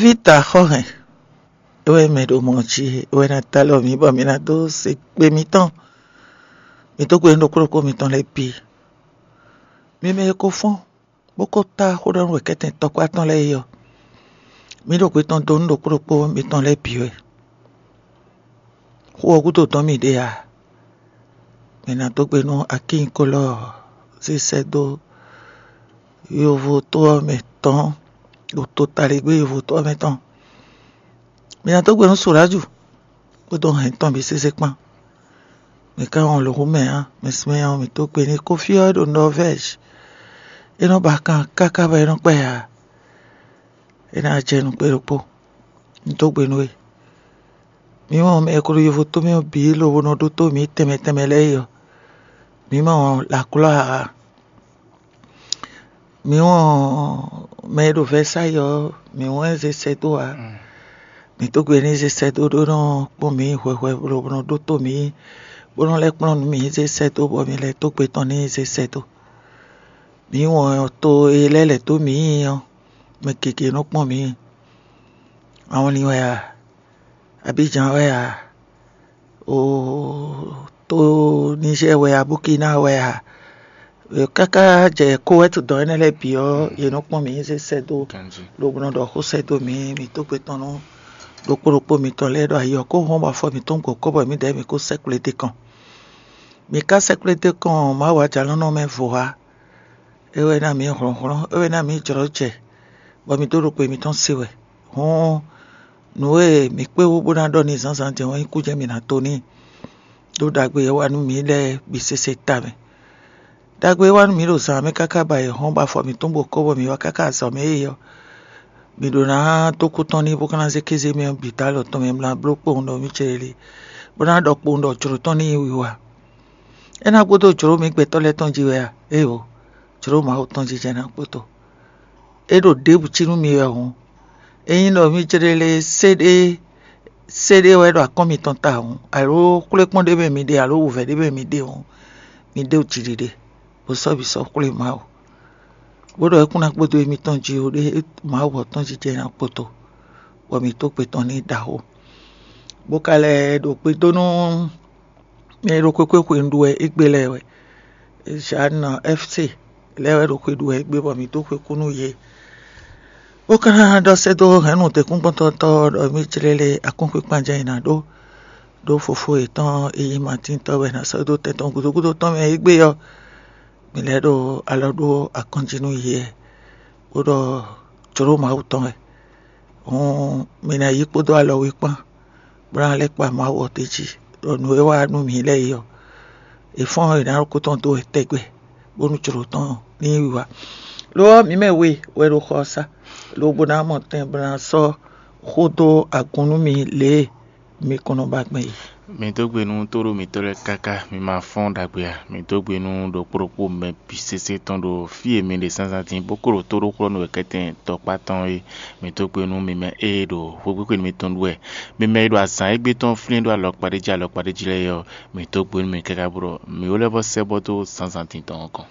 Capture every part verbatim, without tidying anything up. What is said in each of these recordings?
Pita xɔ hɛn, é wɛ mɛ ɖo mɔ̌ jí, é wɛ ná ta lɔ mǐ bɔ mǐ ná dó se kpe mǐtɔn. Mǐ dó gbe nú ɖokpó ɖokpó mǐtɔn lɛ́ɛ bǐ. Mi mɛ e ko fɔ́n bó ko tá xó ɖɔ nú wěkɛ́tɛn tɔkpá tɔn lɛ́ɛ é ɔ́, mǐ ɖo gbe tɔn dó nú ɖokpó ɖokpó mǐtɔn lɛ́ɛ bǐ wɛ. Xó ɔ́ gúdo dɔn mì ɖe ǎ. Mǐ ná dó gbe nú akínyikólɔ zé sɛ́ dó yovo tó ɔ́ mɛ tɔn, ɖo totaligbé yovo tó ɔ́ mɛ tɔn. Mǐ ná dó gbe nú Soláju kpódó hɛn tɔn bǐ sésé kpán. Mǐ ka wɔn lǒ mɛ ǎ, mɛ sinmɛ ɔ́, mǐ dó gbe n'i. Kofí ɔ́ é ɖo Nɔvɛ́zi. É nɔ́ ba kan káká bɔ é nɔ́ kpɛ ǎ. É ná jɛ nǔ kpé ɖokpó. Un dó gbe nú we. Mǐ mɔ mɛ e ko ɖo yovo tó mɛ ɔ́ bǐ lobo nɔ ɖótó mǐ tɛnmɛ tɛnmɛ lɛ́ɛ é ɔ́, mǐ mɔ Laklɔ́ ǎ. Mǐ wɔn mɛ e ɖo Vɛsáyi ɔ́, mǐ wɔn ɛ zé sɛ́ dó ǎ. Mǐ dó gbe n'i zé sɛ́ dó ɖó nɔ kpɔ́n mǐ hwɛhwɛ lobo nɔ ɖótó mǐ, bó nɔ lɛ́ kplɔ́n nǔ mǐ zé sɛ́ dó bɔ mǐ lɛ́ dó gbe tɔn n'i zé sɛ́ dó. Mǐ wɔn to e lɛ́ lɛ̌ dó mǐ ɔ́, mɛ gěgé nɔ kpɔ́n mǐ. Awɔnlin wɛ a? Abidjan wɛ a? O to Nizɛ́ɛ wɛ a? Bukina wɛ a? Káká jɛ Kowɛ́t dɔn énɛ́ lɛ́ɛ bǐ ɔ́, yě nɔ kpɔ́n mǐ zé sɛ́ dó, lobo nɔ ɖɔ xó sɛ́ dó mǐ, mǐ dó gbe tɔn nú ɖokpó ɖokpó mitɔn lɛ́ɛ ɖɔ ayi ɔ́ kó hɔn bɔ afɔ mǐtɔn gbɔ kɔ́ bɔ mǐdɛɛ mǐ kó sɛ́ kplé dó kɔn. Mǐ ka sɛ́ kplé dó kɔn Mawu ajǎlɔ́nɔ mɛ vo ǎ. É wɛ ná mǐ hlɔ̌nhlɔ́n, é wɛ ná mǐ jlɔ́ jɛ, bɔ mǐ dó ɖo kpo mitɔn se wɛ. Hɔn nǔ e mǐ kpé wú bó ná ɖɔ n'i zǎnzǎn din ɔ́, nyí kú jɛ́n mǐ ná to n'i, ɖó ɖagbe e é wa nú mǐ lɛ́ɛ bǐ sésé ta mɛ. Ɖagbe e é wa nú mǐ ɖo zǎn mɛ káká ba è hɔn bɔ afɔ mǐtɔn bó kɔ́ bɔ mǐ wá káká azɔ̌ mɛ é ɔ́, mǐ ɖó ná dó kú tɔn n'i bó ka ná zé kéze mɛ ɔ́ bǐ dó alɔ tɔn mɛ bó ná bló kpowun ɖɔ mǐ cɛ lé, bó ná ɖɔ kpowun ɖɔ jlǒ tɔn n'i wiwa. É ná gbódó jlǒ mǐ gbɛtɔ́ lɛ́ɛ tɔn jí wɛ a? Éeǒ, jlǒ Mawu tɔn jijɛ ná kpótó. É ɖo ɖěbǔ cí nú mi wɛ hǔn, ényí ɖɔ mí jlé lé séɖé séɖé wɛ ɖo akɔ́n mitɔn ta hǔn, aló xwlékpɔ́n ɖé mɛ mi ɖe, aló wǔvɛ́ ɖé mɛ mi ɖe hǔn, mi ɖe jiɖiɖe, bó sɔ́ bǐ sɔ́ xwlé Mawu, bó ɖɔ é kún ná kpódó émítɔn jí ó, ɖé Mawu ɔ́ tɔn jijɛ ná kpótó, bɔ mǐ tó gbe tɔn n'i ɖaxó. Bó ka lɛ́ ɖo gbe dó nú mɛ e ɖo xwéxwé xwenu ɖu wɛ égbé lɛ́ɛ wɛ. Jeanne F C lɛ́ɛ wɛ ɖo xwe ɖu wɛ égbé bɔ mǐ dó xwe kú nú yě. Bó ka ná ɖɔ sɛ́ dó hɛ̌nnu dɛ̌nkúngbɔ́ntɔ́tɔ́ ɖɔ mí jlɛ́ lé akúnxwíkpanjá e nǎ ɖó ɖó fofó yětɔn e nyí Matíntɔ́ wɛ ná sɔ́ dó tɛn tɔn gúdo gúdo tɔn mɛ égbé ɔ́, mǐ lɛ́ ɖo alɔ ɖó akɔ́njí nú yě, bó ɖɔ jlǒ Mawu tɔn wɛ. Hǔn mi ná yí kpódó alɔ we kpán, bó ná lɛ́ kpa Mawu ɔ́ d'é jí, ɖɔ nǔ e wa nú mǐ lɛ́ɛ é ɔ́, è fɔ́n è nǎ ɖo kú tɔn dó wɛ tɛgbɛ, bónú jlǒ tɔn ní yí wiwa. Lo ɔ́, mǐ mɛ we wɛ ɖo xɔ ɔ́ sá, lobo ná mɔ tɛn bó ná sɔ́ xó dó agun nú mi lě e mi kɔn nɔ ba gbɛn é. Mi dó gbe nú tóɖó mǐtɔn lɛ́ɛ káká, mi ma fɔ́n ɖagbe ǎ. Mi dó gbe nú ɖokpó ɖokpó mɛ bǐ sésé tɔn ɖo fí e mi ɖe zǎnzǎn din bó kó ɖo tóɖóxlɔ́nú wěkɛ́tɛn tɔkpá tɔn é. Mi dó gbe nú mi mɛ e ɖo xwéxwéxwenu mitɔn ɖu wɛ, mi mɛ e ɖo azǎn égbé tɔn flín ɖó alɔkpa ɖé jí alɔkpa ɖé jí lɛ́ɛ é ɔ́, mi dó gbe nú mi káká bó ɖɔ mi ó lɛ́ vɔ́ sɛ́ bɔ dó zǎnzǎn din tɔn ɔ́ kɔn.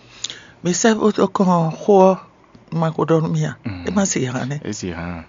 Mi sɛ́ bó dó kɔn xó ɔ́, un ma ko ɖɔ nú mi ǎ. É má se hǎn nɛ́. É se hǎn.